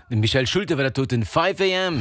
Dem Michel Schulte war dat doten 5 AM.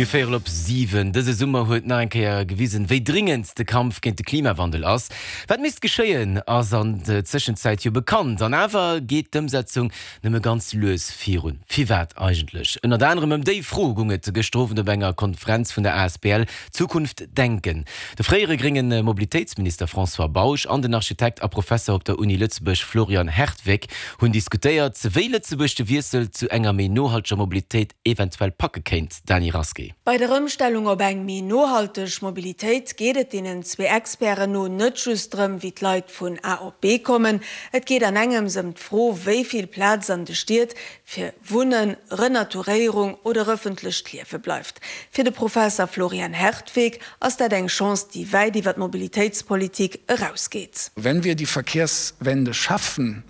Mir véierel op 7. Dëse Summer huet nach eng Kéier gewisen, wéi dringend de Kampf géint de Klimawandel ass. Wat misst geschéien, ass an der Zëschenzäit jo bekannt. An awer geet d'Ëmsetzung nëmme ganz lues virun. Firwat eigentlech? Ënnert anerem ëm déi Fro goung et gëschter Owend op enger Konferenz vun der asbl Zukunft Denken. De fréiere grénge Mobilitéitsminister François Bausch an den Architekt a Professer op der Uni Lëtzebuerg Florian Hertweck hunn diskutéiert, wéi Lëtzebuerg de Wiessel zu enger méi nohalteger Mobilitéit eventuell packe kéint. Dany Rasqué. Bei der Ëmstellung op eng méi nohalteg Mobilitéit geet et deenen zwee Experten no net just drëm, wéi d'Leit vun A op B kommen. Et geet an engems ëm d'Fro, wéi vill Plaz an de Stied fir Wunnen, Renaturéierung oder ëffentlecht Liewe bleift. Fir de Professer Florian Hertweck ass dat eng Chance, déi wäit iwwer d'Mobilitéitspolitik erausgeet. Wenn wir die Verkehrswende schaffen,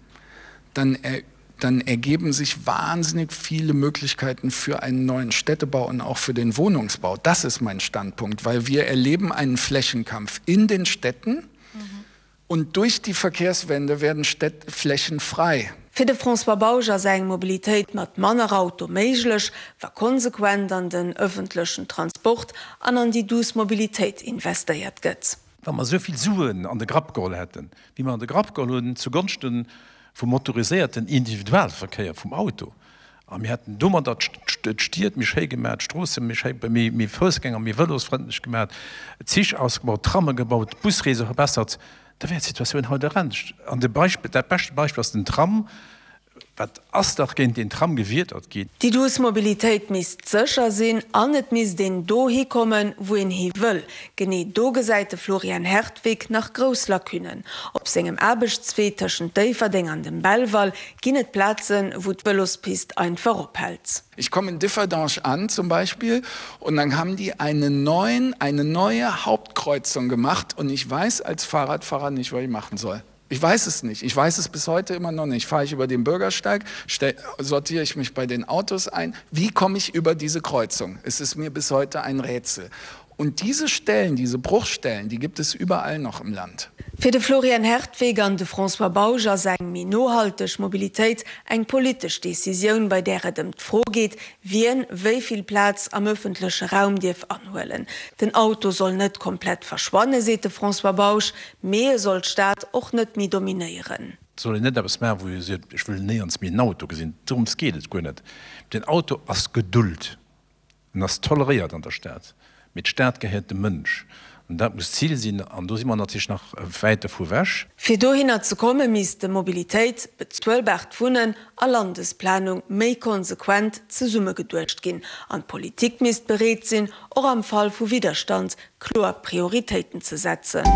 dann dann ergeben sich wahnsinnig viele Möglichkeiten für einen neuen Städtebau und auch für den Wohnungsbau. Das ist mein Standpunkt, weil wir erleben einen Flächenkampf in den Städten und durch die Verkehrswende werden Städt Flächen frei. Fir de François Bausch ass eng Mobilitéit mat manner Auto méiglech, wa konsequent an den ëffentlechen Transport an an déi duuss Mobilitéit investéiert gëtt. Wa mer esou vill Suen an de Grapp geholl hätten, wéi mer an de Grapp geholl hunn zugonschte vum motoriséierten Individualverkéier, vum Auto, a mir hätten domadder d'Stied méi schéi gemaach, d'Stroosse méi schéi, méi Foussgänger-, méi vëlosfrëndlech gemaach, Zich ausgebaut, Tramme gebaut, d'Busreese verbessert, da wär d'Situatioun haut anescht. An de Beispill, dat beschte Beispill ass den Tram. Wat ass dach géint deen Tram gewiedert ginn? Déi duuss Mobilitéit misst sécher sinn an et misst een dohi kommen, wou een hi wëll. Genee do gesäit de Florian Hertwig nach grouss Lacunnen. Op sengem Aarbechtswee tëschent Déifferdeng an dem Belval ginn et Plazen, wou d'Vëlospist einfach ophält. Ich komme in Differdange an zum Beispiel und dann haben die einen neuen, eine neue Hauptkreuzung gemacht und ich weiß als Fahrradfahrer nicht, was ich machen soll. Ich weiß es nicht. Ich weiß es bis heute immer noch nicht. Fahre ich über den Bürgersteig, sortiere ich mich bei den Autos ein? Wie komme ich über diese Kreuzung? Es ist mir bis heute ein Rätsel. Und diese Stellen, diese Bruchstellen, die gibt es überall noch im Land. Fir de Florian Hertweck an de François Bausch ass eng méi nohalteg Mobilitéit eng politesch Decisioun, bei där et ëm d'Fro geet, wien wéi vill Plaz am ëffentleche Raum dierf anhuelen. Den Auto soll net komplett verschwanne, seet de François Bausch, Mee e soll d'Stad och net méi dominéieren. Et soll een net eppes maachen, wou ee seet, ech wëll néierens méi en Auto gesinn. Dorëms geet et guer net. Den Auto ass gedult, en ass toleréiert an der Stad, mee d'Stad gehéiert dem Mënsch. An dat muss d'Zil sinn. An do si mer natierlech nach wäit dovu ewech. Fir dohinner ze komme misste Mobilitéit, bezuelbaart Wunnen a Landesplanung méi konsequent zesummegeduecht ginn. An d'Politik misst bereet sinn, och am Fall vu Widderstand kloer Prioritéiten ze setzen.